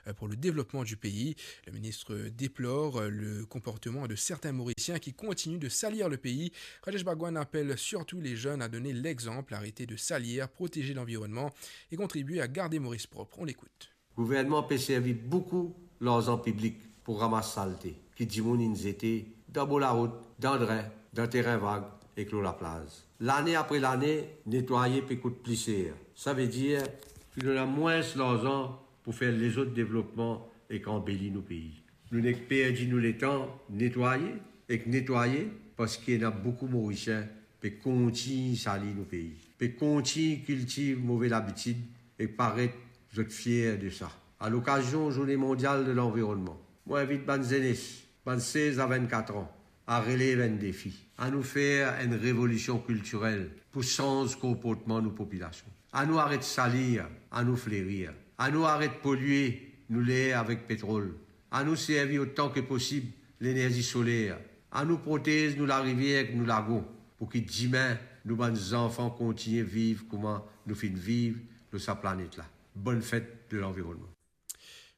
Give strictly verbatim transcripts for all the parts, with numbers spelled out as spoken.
euh, pour le développement du pays. Le ministre déplore, euh, le comportement de certains Mauriciens qui continuent de salir le pays. Rajesh Bhagwan appelle surtout les jeunes à donner l'exemple, arrêter de salir, protéger l'environnement et contribuer à garder Maurice propre. On l'écoute. Gouvernman pe servi boukou larzan piblik pou ramas salte ki dimoun inn zete dan bor larout, dan drin, dan terin vag ek lor laplaz. Lane apre lane, netwaye pe kout pli ser. Savedir ki nou ena mwins larzan pou fer lezot devlopman ek anbeli nou pei. Nou nek perdi nou letan netwaye ek netwaye parski ena boukou Morisien pe kontign sali nou pei, pe kontign kiltiv move labitid ek paret zot fier de sa. A lokazion Zourne Mondial de Lanvironnman, mo invit bann zenes, bann sez a vennkat an, a relev enn defi. Anou fer enn revolision kiltirel pou sanz konportman nou popilasion. Anou aret salir, anou flerir. Anou aret polie nou ler avek petrol. Anou servi otan ki posib lenerzi soler. Anou protez nou larivier ek nou lagon, pou ki dime nou bann zanfan kontigne viv kouma nou finn viv lor sa planet la. Bonne fête de l'environnement.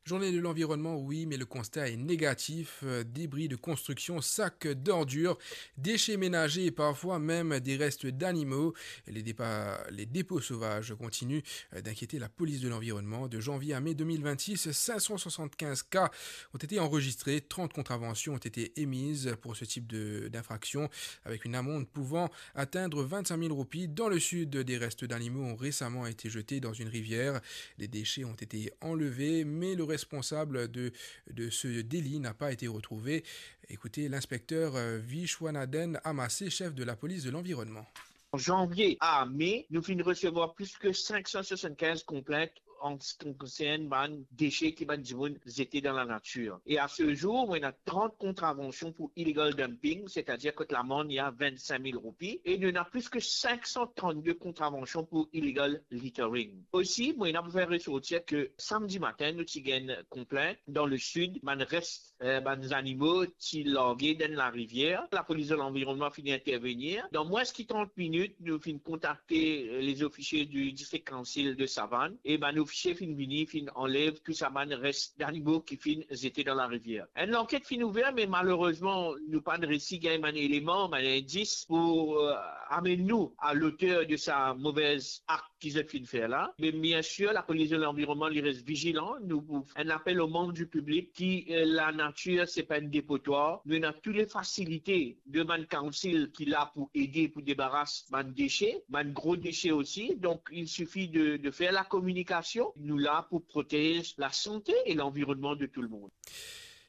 Journée de l'environnement, oui, mais le constat est négatif. Euh, débris de construction, sacs d'ordures, déchets ménagers et parfois même des restes d'animaux. Les dépa-, les dépôts sauvages continuent, euh, d'inquiéter la police de l'environnement. De janvier à mai deux mille vingt-six, cinq cent soixante-quinze cas ont été enregistrés, trente contraventions ont été émises pour ce type de, d'infraction, avec une amende pouvant atteindre vingt-cinq mille roupies. Dans le sud, des restes d'animaux ont récemment été jetés dans une rivière. Les déchets ont été enlevés, mais le responsable de, de ce délit n'a pas été retrouvé. Écoutez l'inspecteur, euh, Vishwanathan Amasse, chef de la police de l'environnement. Janvier a mai, nou finn resevwar plis ki cinq cent soixante-quinze konplint an se ki konsern bann dese ki bann dimoun zete dan lanatir. E a se zour, nou ena trant kontravansion pou illegal dumping, setadir kot lamann li a vingt-cinq mille roupi, e nou ena plis ki cinq cent trente-deux kontravansion pou illegal littering. Osi, nou ena pou fer resorti ki samdi matin, nou ti gagn konplint dan le sid, bann res eh, bann zanimo ti large dan larivier. Lapolis de lanvironnman finn intervenir. Dan mwins ki trant minit, nou finn kontakte, eh, les officiers du district council de Savane e bann ofisie finn vini, finn anlev tou sa bann res zanimo ki finn zete dan larivier. Enn lanket finn ouver, me malerezman, nou pa'nn resi gagn bann eleman, bann indis pou, eh, amenn nou a loter de sa movez akt ki zot finn fer la. Me biensir, lapolis de lanvironnman, li res vizilan. Nou pou enn apel o manm di piblik ki, eh, lanatir, se pa enn depotwar. Nou ena tou le fasilite de bann council ki la pou ede pou debaras bann dese, bann gro dese osi. Donk, il sifi de, de fer lakominikasion. Nou la pou protez lasante e lanvironnman de tou le mond.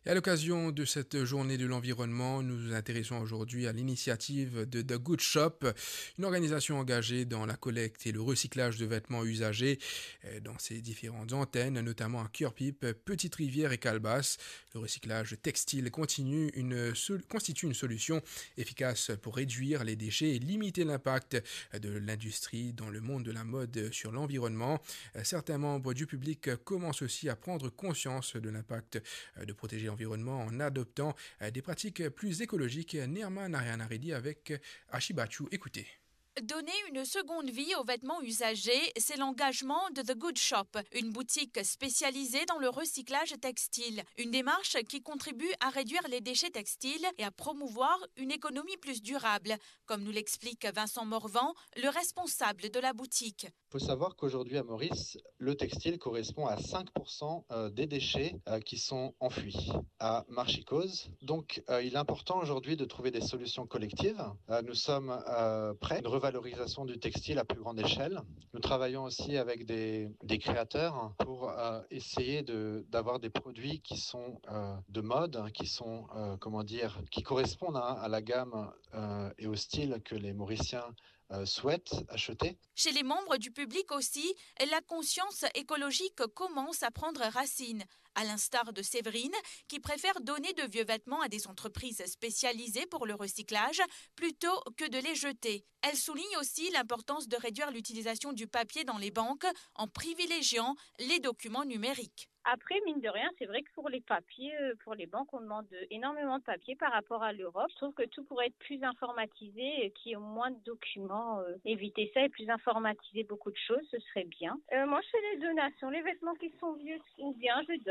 Et à l'occasion de cette journée de l'environnement, nous nous intéressons aujourd'hui à l'initiative de The Good Shop, une organisation engagée dans la collecte et le recyclage de vêtements usagés, euh, dans ses différentes antennes, notamment à Curepipe, Petite-Rivière et Calebasse. Le recyclage textile continue une sol-, constitue une solution efficace pour réduire les déchets et limiter l'impact de l'industrie dans le monde de la mode sur l'environnement. Certains membres du public commencent aussi à prendre conscience de l'impact de protéger l'environnement en adoptant des pratiques plus écologiques. Nirman Narayan Reddy avec Ashi Bachu. Écoutez. Donner une seconde vie aux vêtements usagés, c'est l'engagement de The Good Shop, une boutique spécialisée dans le recyclage textile. Une démarche qui contribue à réduire les déchets textiles et à promouvoir une économie plus durable, comme nous l'explique Vincent Morvan, le responsable de la boutique. Il faut savoir qu'aujourd'hui à Maurice, le textile correspond à cinq pour cent, euh, des déchets, euh, qui sont enfouis à Marchicose. Donc, euh, il est important aujourd'hui de trouver des solutions collectives. Euh, nous sommes, euh, prêts à une revalorisation du textile à plus grande échelle. Nous travaillons aussi avec des, des créateurs pour, euh, essayer de, d'avoir des produits qui sont, euh, de mode, hein, qui sont, euh, comment dire, qui correspondent, hein, à la gamme, euh, et au style que les Mauriciens, euh, souhaitent acheter. Chez les membres du public aussi, la conscience écologique commence à prendre racine, à l'instar de Séverine, qui préfère donner de vieux vêtements à des entreprises spécialisées pour le recyclage plutôt que de les jeter. Elle souligne aussi l'importance de réduire l'utilisation du papier dans les banques en privilégiant les documents numériques. Après, mine de rien, c'est vrai que pour les papiers, euh, pour les banques, on demande énormément de papiers par rapport à l'Europe. Je trouve que tout pourrait être plus informatisé et qu'il y ait moins de documents. Euh, éviter ça et plus informatiser beaucoup de choses, ce serait bien. Euh, moi, je fais les donations, les vêtements qui sont vieux, ou bien je donne.